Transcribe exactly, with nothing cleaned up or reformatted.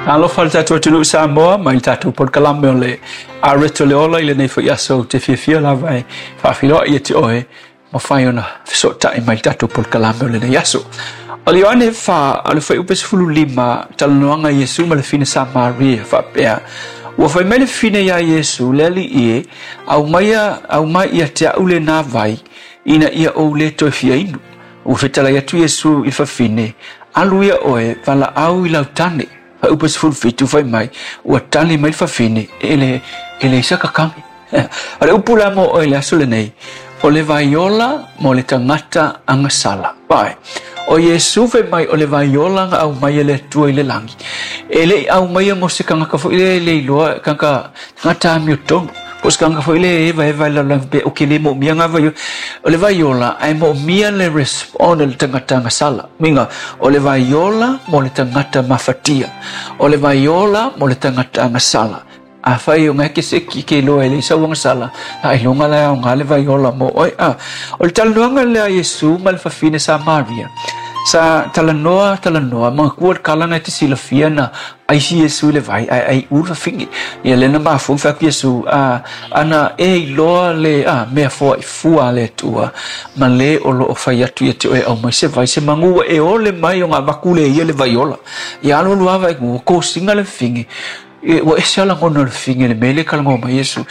Alofa le tatou atunuu Samoa mai le tatou polokalame o le Areto le Ola i lenei foi aso ou te fiafia lava e faafiloa ia te oe mafai ona fesootai mai le tatou polokalame o lenei aso. O le Ioane fa o le fuaiupu sefulu lima talanoaga a Iesu ma le fine Samaria faapea, ua fai mai le fine iā Iesu, le Alii e, aumaia aumai ia te a'u lenā vai ina ia ou le toe fia inu. Ua fetalai atu Iesu i le fafine, alu ia oe valaau i lau tane. Fuaiupu sefulu fitu fai mai, ua tali mai le fafine, e le e leai saka kagi. O le upu la mo oe i le aso lenei, o le vaiola mo le tagata agasala. Vai. O Iesu fai mai o le vaiola na aumai e le Atua i le lagi. E le i aumaia mo se tagata foi le le iloa tagata tagata amiotonu. Po o se tagata foi le eva eva i le lalolagi pe o ke le moomia ngā vaiola. O le vaiola ae moomia le respond a le tagata agasala. Uiga, o le vaiola mo le tagata mafatia. O le vaiola mo le tagata agasala. Afai o ngai ke se ki ke loa e le sau agasala, a iloga la e aoga le vaiola mo oe. A o le talanoaga lea a Iesu ma le fafine Samaria, sa talanoa talanoa, manatua le kala na e te silafia na aisi Iesu i le vai ae ai u le fafine. Ia lea na mafua ona fai atu Iesu, a ana e iloa le a mea foai fua a le Atua ma le o loo fai atu ia te oe aumai se vai se magu ua e ole mai ona avatu le ia le vaiola. Ia alu alu lava ua kosiga le fafine, ua ese lava lagona o le fafine i le mea lea e talanoa mai Iesu.